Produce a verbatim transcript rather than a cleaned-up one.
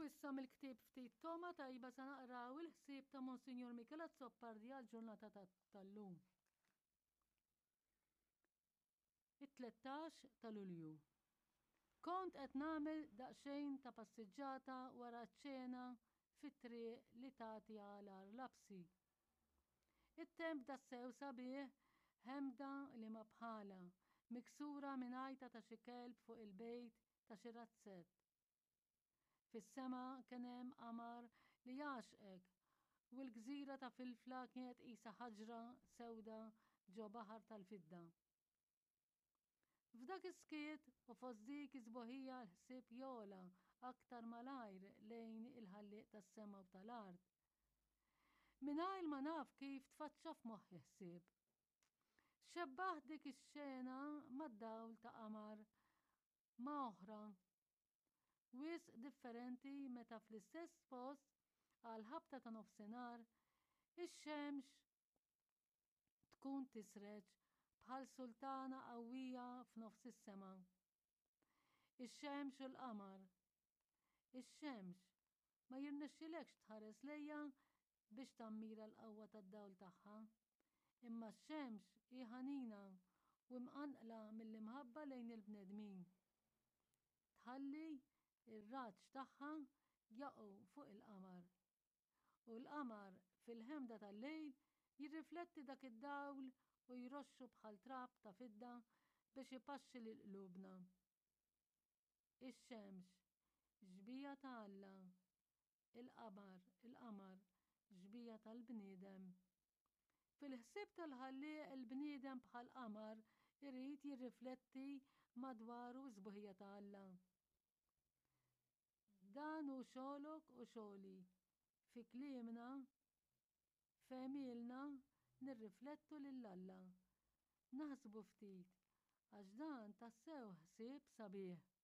issa mill-ktieb Ftit Togħma Tajba sa naqraw il-ħsieb ta' Monsinjur Michel Azzopardi għall-ġurnata tal-lum. It-tlettax ta' Lulju. Kont qed nagħmel daqsxejn ta' passiġġata wara ċ-ċena fit-triq li tagħti għal Għar Lapsi. It-temp tassew sabiħ, ħemda li ma bħalha, miksura minn għajta ta' xi kelb fuq il-bejt ta' xi razzett. Fis-sema kien hemm qamar li jgħaxqek u l-gżira ta' Filfla kienet qisha ħaġra sewda ġo baħar tal-fidda. F'dak is-skiet u fost dik is-sbuħija l-ħsieb jogħla aktar malajr lejn il-Ħallieq tas-sema u tal-art. Mingħajr ma naf kif tfaċċa f'moħħi ħsieb. Xebbaħt dik ix-xena mad-dawl ta' qamar ma' oħra wisq differenti meta fl-istess post għall-ħabta ta' nofsinhar ix-xemx tkun tisreġ bħal sultana qawwija f'nofs is-sema. Ix-xemx u l-qamar. Ix-xemx ma jirnexxilekx tħares lejha biex tammira l-qawwa tad-dawl tagħha. Imma x-xemx hi ħanina u mqanqla mill-imħabba lejn il-bnedmin. Tħalli r-raġġ tagħha jaqgħu fuq il-qamar. U l-qamar fil-ħemda tal-lejl jirrifletti dak id-dawl u jroxxu bħal trab ta' fidda biex ipaxxi lil qlubna. Ix-xemx, xbieha ta' Alla, il-qamar, il-qamar, xbieha tal-bniedem. Fil-ħsieb tal-Ħallieq il-bniedem bħal qamar irid jirrifletti madwaru s-sbuħija ta' Alla. Dan hu xogħlok u xogħli. Fi kliemna, f'għemilna nirriflettu lil Alla. Naħsbu ftit, għax dan tassew ħsieb sabiħ.